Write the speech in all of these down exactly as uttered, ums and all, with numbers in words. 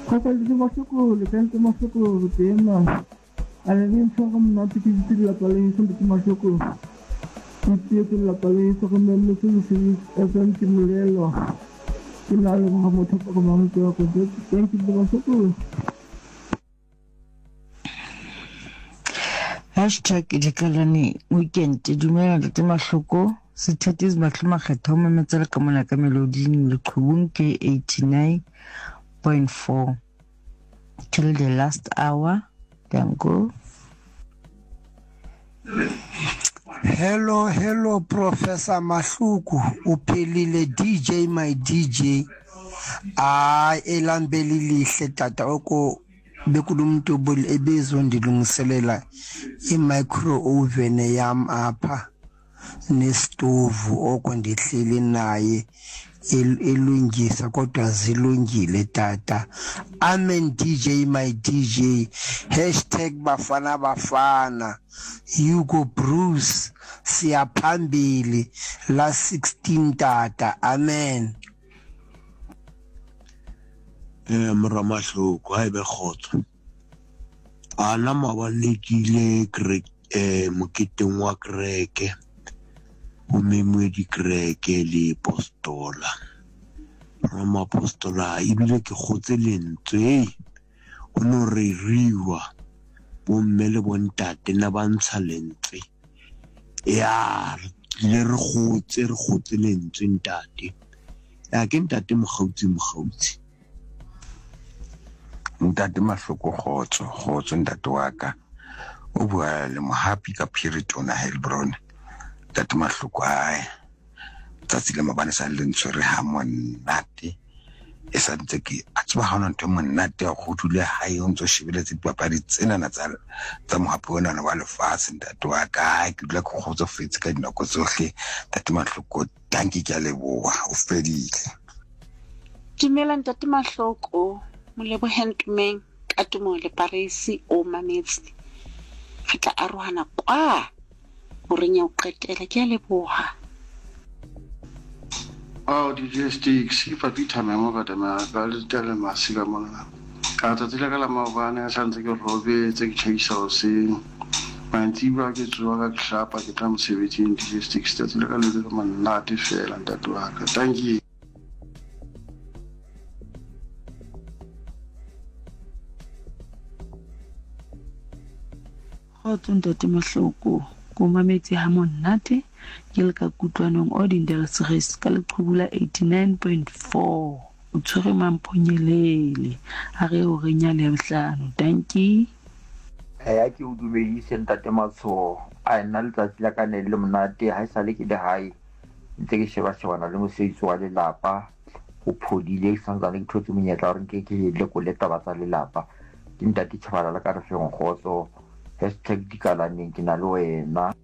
Kgotsa le Mahloko le ka ntate Mahloko re teng mane. A le le ntshware monate ke dutse lelapa leso ntate Mahloko. Ke tietse lelapa leso re mametse Lesedi F M ke molelwa. Ke na le leboha motho ka mametse wa ka. Thank you ntate Mahloko. Hashtag Dikalane weekend. Dumela ntate Mahloko. Sethatisi Mahlo Makgetha o mametse le ka mona ka meloding leqhubung ke eighty-nine point four till the last hour. Danko. Hello, hello, Professor Mahloko. O phelile D J my D J. Hayi, elambeli lihle tata oko bekunomntu ebezondilungiselela i-micro oven yam apha nesitovu oko ndihleli naye elungisa kodwa zilungile tata. Amen D J my D J. Hashtag Bafana Bafana. Hugo Bruce siyaphambili la sixteen tata. Amen. Eh mora Mahloko ha ebe kgotso. Ana maobane ke ile kereke eh moketeng wa kereke. Ho memwe dikereke le postola. Ramapostola ebile ke kgotse lentswe. Ho no reriwa bomme le bontate na ba ntsha lentswe. Ya le re kgotse re kgotse lentswe ntate. Ya ke ntate Mokgautsi Mokgautsi. Ntate Mahloko kgotso, kgotso ntate wa ka. O bua le Mohapi ka Phiritona Heilbron. Ntate Mahloko ae. Tsatsi le mabane sa le ntshwere ha monate. E sa ntse ke a tseba ha hona ntho e monate ya go dula hae o ntso shebeletse dipapadi tsenana tsa tsa mohapi ona wa lefatshe ntate wa ka. Ke dula ke kgotsofetse ka dinako tsohle. Ntate Mahloko, dankie ke a leboha, o fedile. Dumela ntate Mahloko. Molebohe Ntumeng ka tumo le Paris o mametse. Re tla arohana kwa horeng ya ho qetela. Ke a leboha. Oh, D J Sticks, ke Papita Memo ka tama ka le tele masika mona. Ka tsatsi la ka la maobane a santse ke robetse ke tjhaisa hoseng. Mantsibuya ke tsoha ka hlapa ke tla mosebetsing D J Sticks. Tsatsi la ka le le monate fela ntate wa ka. Thank you. Kgotso ntate Mahloko, ko mametse ha monate ke le ka kutlwanong o Dindelsres ka leqhubu la eighty-nine point four. O tshwere mamphonyelele a re o re nyale ya bohlano. Dankie. Eh ke o dumedise ntate Matsho. A nna letsatsi la ka ne le monate ha esale ke le hae. Ntse ke sheba shebana le mosebetsi wa lelapa. Ho phodile ke santsane ke thotse monyetla hore nke ke lekole taba tsa lelapa. Ke ntate Tshabalala ka re feng kgotso. Hashtag dikalaneng ke na le wena.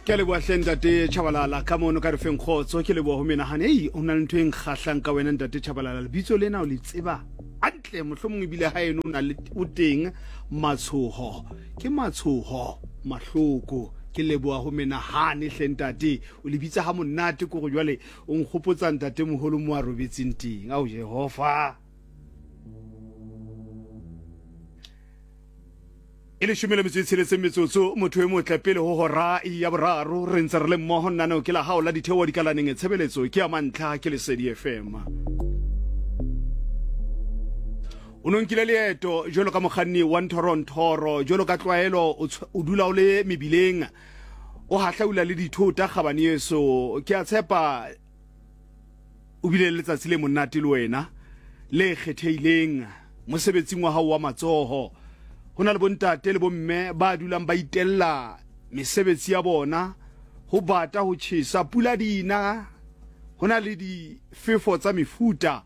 Ke leboha hle ntate Tshabalala ka mono ka re feng kgotso. Ke leboha ho menahane. Ei, o na le ntho e nkgahlang ka wena ntate Tshabalala. Lebitso lena o le tseba hantle, mohlomong ebile ha eno o na le o teng Matshoho. Ke Matshoho Mahloko. Ke leboha ho menahane hle ntate. O le bitsa ha monate ko go jwale o nkgopotsa ntate moholo mo a robetseng teng. Ao Jehova. E leshome le metso e tsheletseng metsotso motho e motle pele ho hora ya boraro re ntse re le mmoho nnaneo ke la hao la ditheo dikalaneng tshebeletso ke ya mantlha ke Lesedi F M. O no nkile leeto jwalo ka mokganni wa nthoro-nthoro jwalo ka tlwaelo o dula o le mebileng o hahlaula le dithota kgabane yeso. Ke a tshepa o bile le letsatsi le monate le wena le kgethehileng mosebetsing wa hao wa matsoho. Ho na le bontate le bomme ba dulang ba itella mesebetsi ya bona ho bata ho tjhesa pula dina ho na le difefo tsa mefuta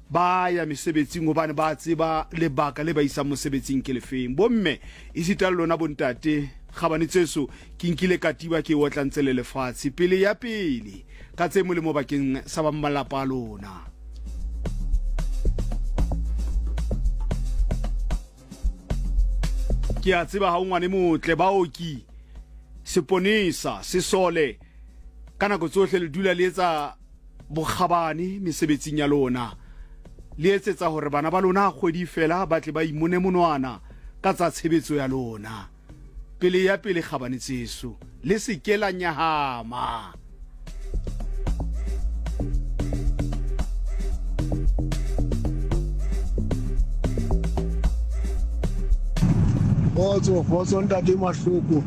ba ya mesebetsing hobane ba tseba lebaka le ba isang mosebetsing ke lefeng. Bomme esita le lona bontate kgabane tseso ke nkile katiba ke otla ntse le lefatshe pele ya pele ka tse molemo bakeng sa ba malapa a lona. Ke a tseba ha o ngwane motle baoki seponesa sesole ka nako tsohle le dula le etsa bokgabane mesebetsing ya lona. Le etsetsa hore bana ba lona kgwedi fela ba tle ba imone monwana ka tsa tshebetso ya lona. Pele ya pele kgabane tseso, le se ke la nyahama. Kgotso, kgotso ntate Mahloko.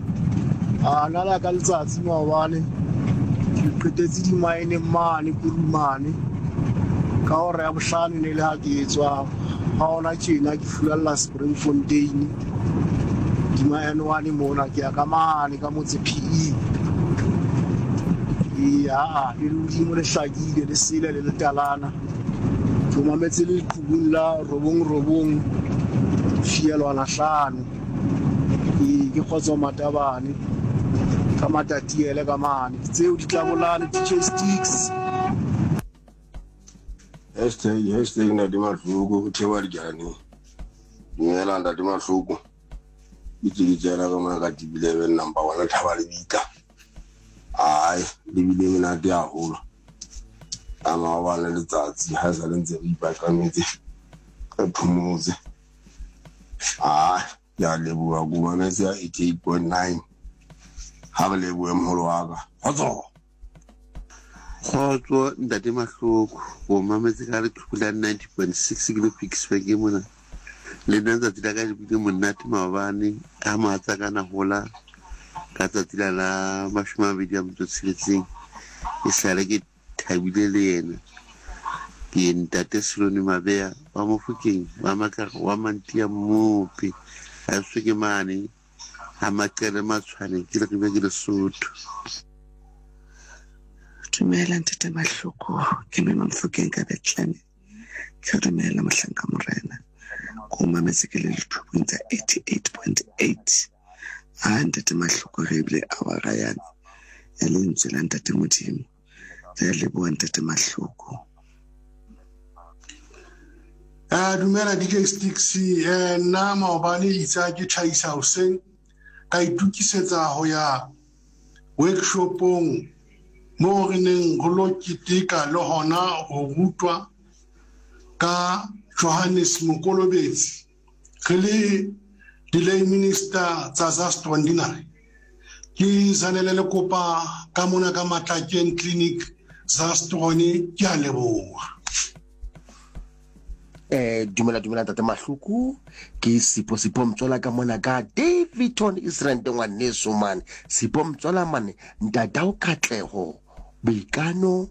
A nna la ka letsatsi maobane ke qetetse dimaeneng mane Kurumane ka hora ya bohlano ne le ha ke etswa ha hona tjena ke fulalla Springfontein dima N one mona ke ya ka mane ka motse P E. E a le lehodimo le hlakile le sele le letalana. Ke mametse le leqhubung la robong robong fielwana hlano. Ke ke kgotso matabane ka matatiele ka mane tseo di tlabolane D J Sticks. Hashtag hashtag Ntate Mahloko ho thewa dijane. Dumela Ntate Mahloko. Ke tse tsena ka mona ka T V eleven number one thaba le bitla. Ai le bile monate haholo. A maobane letsatsi ha sa le ntse re ipaqametse re phomotse. Ai ya leboha go mametse ya eighty-eight point nine. Ha re lebohe moholo wa ka. Kgotso. Kgotso Ntate Mahloko, o mametse ka leqhubu la ninety point six ke le Ficksburg mona. Le nna tsatsi la ka le bile monate maobane ha mohatsa ka na hola ka tsatsi la la mashome a mabedi a metso e tsheletseng. E sale ke thabile le yena. Ke ntate Selone Mabeya wa Mofokeng wa Makara wa Mantia Mmopi. A se ke mane ha Maqele Matshwane ke le ke Lesotho. Dumela Ntate Mahloko, ke mme Mofokeng ka Bethlehem. Ke dumela mohlanka morena. Ko mametse ke le leqhubung tsa eighty-eight point eight. A Ntate Mahloko re bile awara yane ya lentswe la Ntate Modimo. Re leboha Ntate Mahloko. Eh dumela D J Sticks, eh nna maobane itse ke tjhaisa hoseng ka itukisetsa ho ya workshopong mo re neng ho lo keteka le hona ho rutwa ka Johannes Mokolobetsi re le di-lay minister tsa Zastron dinare. Ke Zanele le kopa ka mona ka Matlakeng Clinic Zastron, ke a leboha. Eh dumela dumela Ntate Mahloko, ke Sipho Sipho Mtswala ka mona ka Davidton Israel ngwaneso man. Sipho Mtswala mane ntatao Katleho Boikano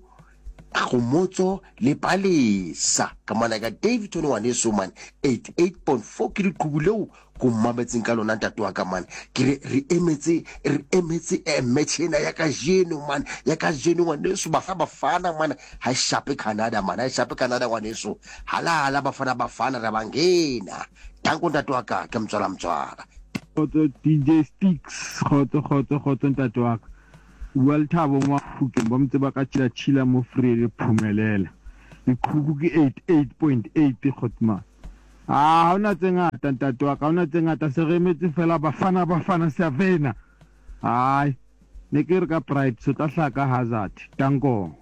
Kgomotso le Palesa ka mona ka Davidton ngwaneso man eighty-eight point four ke leqhubu leo ko mametseng ka lona ntate wa ka man. Ke re re emetse re emetse eh, match ena ya kajeno man, ya kajeno ngwaneso Bafana Bafana man, ha e shape Canada man, ha e shape Canada ngwaneso. Halala Bafana Bafana re bangena. Danko ntate wa ka, ke Mtswala Mtswala. Kgotso D J Sticks, kgotso kgotso kgotso ntate wa ka. Bua le Thabo Mafokeng ba motse ba ka tshila tshila mo Vrede Phumelela. Leqhubu ke eighty-eight point eight kgotma. Ah, ha hona tse ngata ntate wa ka, ha hona tse ngata, se re emetse fela Bafana Bafana Savena. Ai, ne ke re ka pride se tla hlaka Hazard. Danko.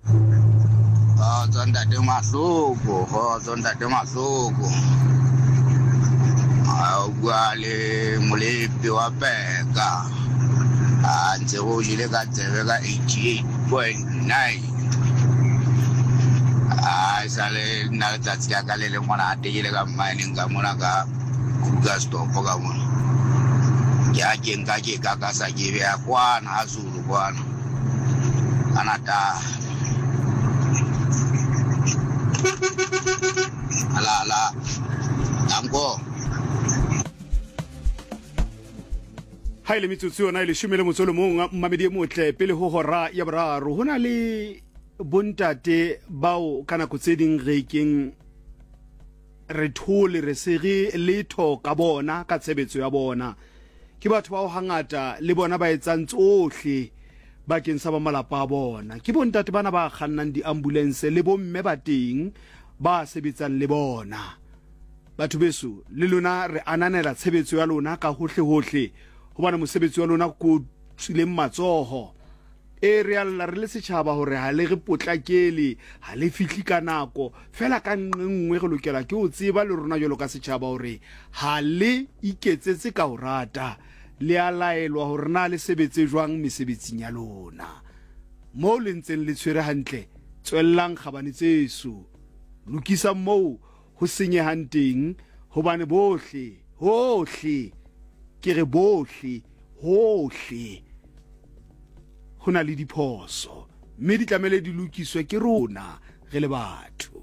Kgotso Ntate Mahloko, kgotso Ntate Mahloko. A o bua le Molepi wa Peka. A ntse go jele ka tsebe ka eighty-eight point nine. A sale nna letsatsi la ka le le monate ke le ka mmaneng ka mona ka Krugersdorp ka mona. Ke a ke nka ke ka ka sa ke beya kwana ha Zulu kwana. Ka Natal. Ala ala. Danko. Ha ile metsotso yona e leshome le motso o le mong mmamedi e motle pele ho hora ya boraro. Ho na le bontate bao ka nako tse ding re keng re thole re se re letho ka bona ka tshebetso ya bona. Ke batho bao hangata le bona ba etsang tsohle bakeng sa ba malapa a bona. Ke bontate bana ba kgannang di-ambulance le bomme ba teng ba sebetsang le bona. Batho beso le lona re ananela tshebetso ya lona ka hohle hohle, hobane mosebetsi wa lona ko tswileng matsoho. E re a lla re le setšhaba gore ga le re potlakele, ga le fihle ka nako. Fela ka nqe nngwe re lokela ke ho tseba le rona jwalo ka setšhaba gore ga le iketsetse ka ho rata, le a laelwa gore na le sebetse jwang mesebetsing ya lona. Moo le ntseng le tshwere hantle, tswellang kgabane tseso, lokisang moo ho senyehang teng, hobane bohle, hohle, ke re bohle, hohle ho na le diphoso, mme di tlamehile di lokiswe ke rona re le batho.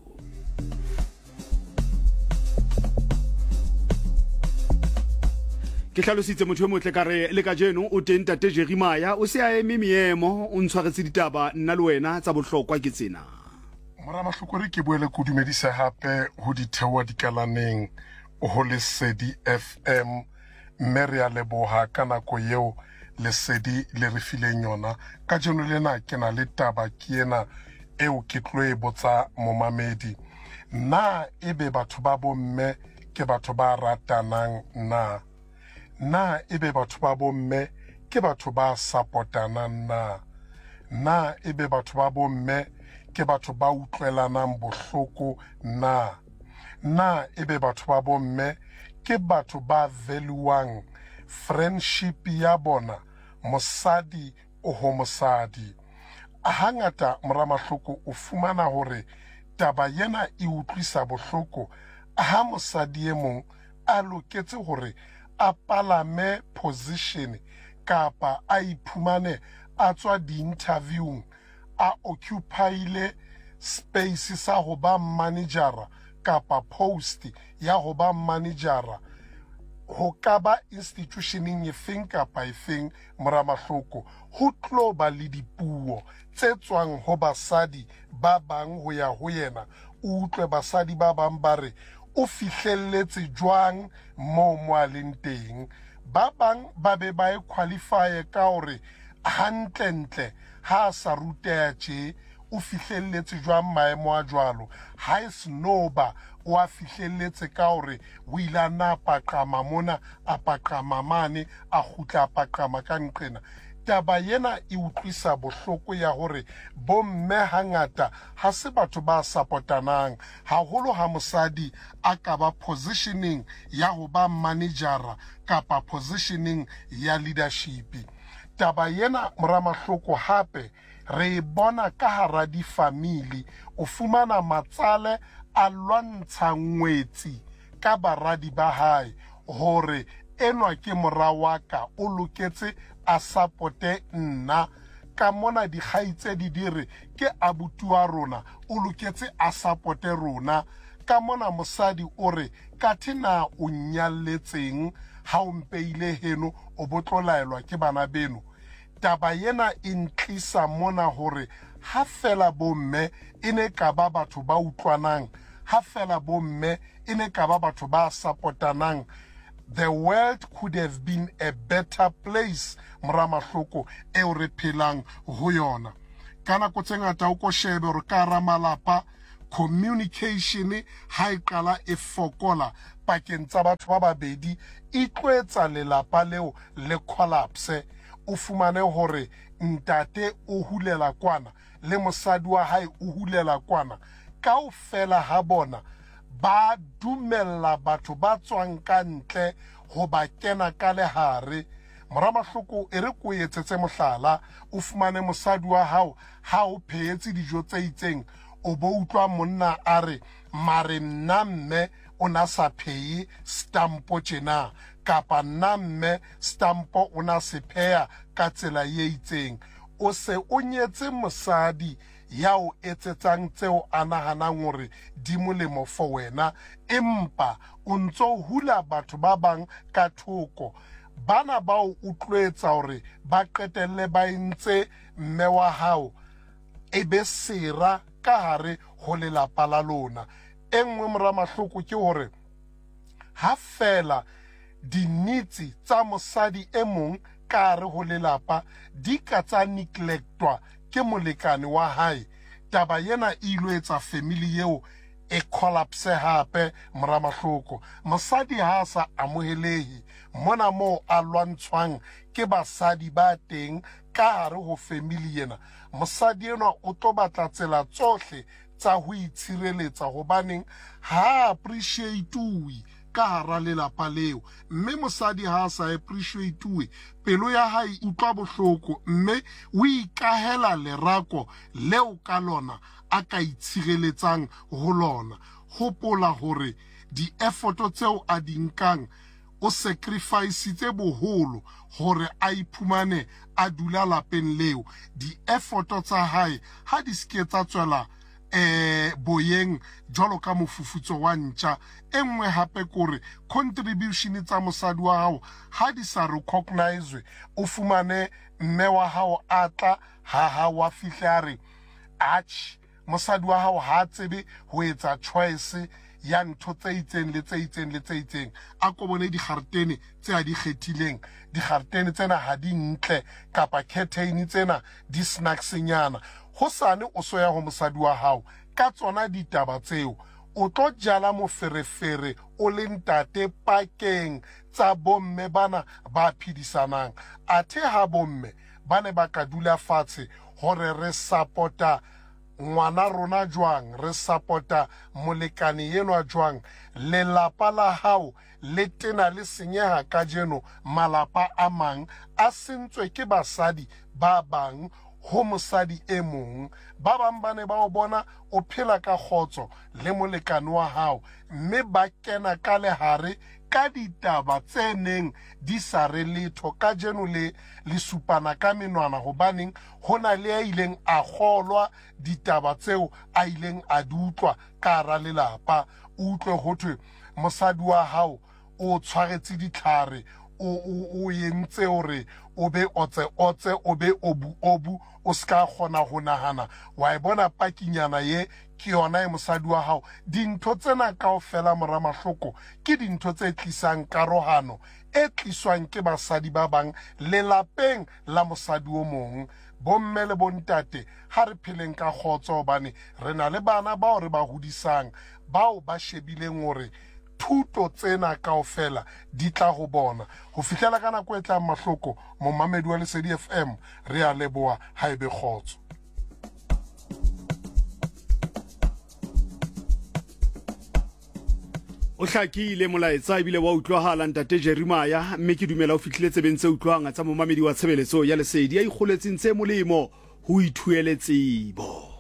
Ke hlalositse motho e motle ka re le kajeno o teng Ntate Jeremiah, o se a eme meemo, o ntshwaretse ditaba nna le wena tsa bohlokwa ke tsena. Mora Mahlokore, ke boele ke o dumedise hape ho ditheoha dikalaneng ho Lesedi F M, mme re a leboha ka nako eo Lesedi le re fileng yona. Kajeno lena ke na le taba ke ena eo ke tlo e botsa momamedi. Na ebe batho ba bomme ke batho ba ratanang na? Na ebe batho ba bomme ke batho ba supportanang na? Na ebe batho ba bomme ke batho ba utlwelanang bohloko na? Na ebe batho ba bomme ke batho ba valuang friendship ya bona, mosadi o ho mosadi? Hangata mora Mahloko o fumana hore taba yena e utlwisa bohloko ha mosadi e mong a loketse hore a palame position kapa a iphumane a tswa di-interviewng a occupyile space sa ho ba managera kapa post ya ho ba managera ho ka ba institutioneng efeng kapa efeng. Mora Mahloko, ho tlo ba le dipuo tse tswang ho basadi ba bang ho ya ho yena. O utlwe basadi ba bang ba re o fihlelletse jwang moo mo a leng teng. Ba bang ba be ba e qualify ka hore hantlentle ha a sa ruteha tje, o fihlelletse jwang maemo a jwalo. Ha e snoba o a fihlelletse ka hore o ile a na paqama mona, a paqama mane, a kgutla a paqama ka nqena. Taba yena e utlwisa bohloko ya hore bomme hangata ha se batho ba supportanang, haholo ha mosadi a ka ba positioning ya ho ba managera kapa positioning ya leadership. Taba yena mora Mahloko hape re e bona ka hara difamili. O fumana matsale a lwantsha ngwetsi ka baradi ba hae hore enwa ke mora wa ka, o loketse a supporte nna. Ka mona dikgaitsedi di re ke abuti wa rona, o loketse a supporte rona. Ka mona mosadi o re kathe na o nnyalletseng ha o mpeile heno, o bo tlo laelwa ke bana beno. Taba yena e ntlisa mona hore ha fela bomme e ne ka ba batho ba utlwanang, ha fela bomme e ne ka ba batho ba supportanang, the world could have been a better place. Mora Mahloko eo re phelang ho yona. Ka nako tse ngata o ko shebe hore ka hara malapa communication ha e qala e fokola pakeng tsa batho ba babedi, e tlo etsa lelapa leo le collapse. O fumane hore ntate o hulela kwana le mosadi wa hae o hulela kwana, kaofela ha bona ba dumella batho ba tswang ka ntle ho ba kena ka lehare. Mora Mahloko, e re ko etsetse mohlala, o fumane mosadi wa hao ha o phehetse dijo tse itseng, o bo utlwa monna a re mare nna mme o na sa phehe stampo tjena, kapa nna mme stampo o na se pheha ka tsela e itseng. O se o nyetse mosadi ya o etsetsang tseo a nahanang hore di molemo for wena, empa o ntso hula batho ba bang ka thoko. Bana ba o utlwetsa hore ba qetelle ba entse mme wa hao e be sera ka hare ho lelapa la lona. E nngwe mora Mahloko ke hore ha fela dinitsi tsa mosadi e mong ka hare ho lelapa di ka tsa neglectwa ke molekane wa hae, taba yena e ilo etsa family eo e collapse hape. Mora Mahloko, mosadi ha a sa amohelehe mona moo a lwantshwang ke basadi ba teng ka hare ho family ena. Mosadi enwa o tlo batla tsela tsohle tsa ho itshireletsa hobaneng ha appreciate-uwe ka hara lelapa leo. Mme mosadi ha a sa appreciate-uwe, pelo ya hae utlwa bohloko mme o ikahela lerako leo ka lona a ka itshireletsang ho lona. Hopola hore di-effort tseo a di nkang o sacrifice-itse boholo hore a iphumane a dula lapeng leo. Di-effort tsa hae ha di ske tsa tswela eh boyeng jwalo ka mofufutso wa ntja. E nngwe hape kore contribution tsa mosadi wa hao ha di sa recognize, o fumane mme wa hao a tla ha ha wa fihle a re atjhe, mosadi wa hao ha tsebe ho etsa choice ya ntho tse itseng le tse itseng le tse itseng. A ko bone dikgaretene tse a di kgethileng, dikgaretene tsena ha di ntle kapa curtain tsena di snacks-nyana. Hosane o so ya ho mosadi wa hao ka tsona ditaba tseo, o tlo jala moferefere o le ntate pakeng tsa bomme bana ba phedisanang. Athe ha bomme ba ne ba ka dula fatshe hore re support-a ngwana rona jwang, re support-a molekane enwa jwang, lelapa la hao le tena le senyeha kajeno. Malapa a mang a sentswe ke basadi ba bang ho mosadi e mong. Ba bang ba ne ba o bona o phela ka kgotso le molekane wa hao, mme ba kena ka lehare ka ditaba tse neng di sa re letho. Kajeno le le supana ka menwana hobaneng ho na le a ileng a kgolwa ditaba tseo a ileng a di utlwa ka hara lelapa. O utlwe ho thwe mosadi wa hao o tshwaretse ditlhare, o o o entse hore o be otse otse, o be obu obu, o ska kgona ho nahana. Wa e bona pakinyana ye ke yona e mosadi wa hao. Dintho tsena kaofela mora Mahloko ke dintho tse tlisang karohano e tliswang ke basadi ba bang lelapeng la mosadi o mong. Bomme le bontate, ha re pheleng ka kgotso hobane re na le bana bao re ba hodisang, bao ba shebileng hore thuto tsena kaofela di tla ho bona. Ho fihlela ka nako e tlang Mahloko, momamedi wa Lesedi F M, re a leboha, ha ebe kgotso. O hlakile molaetsa ebile wa utlwahala ntate Jeremiah, mme ke dumela o fihlile tsebeng tse utlwang tsa momamedi wa tshebeletso ya Lesedi ya ikgoletseng tse molemo ho ithuele tsebo.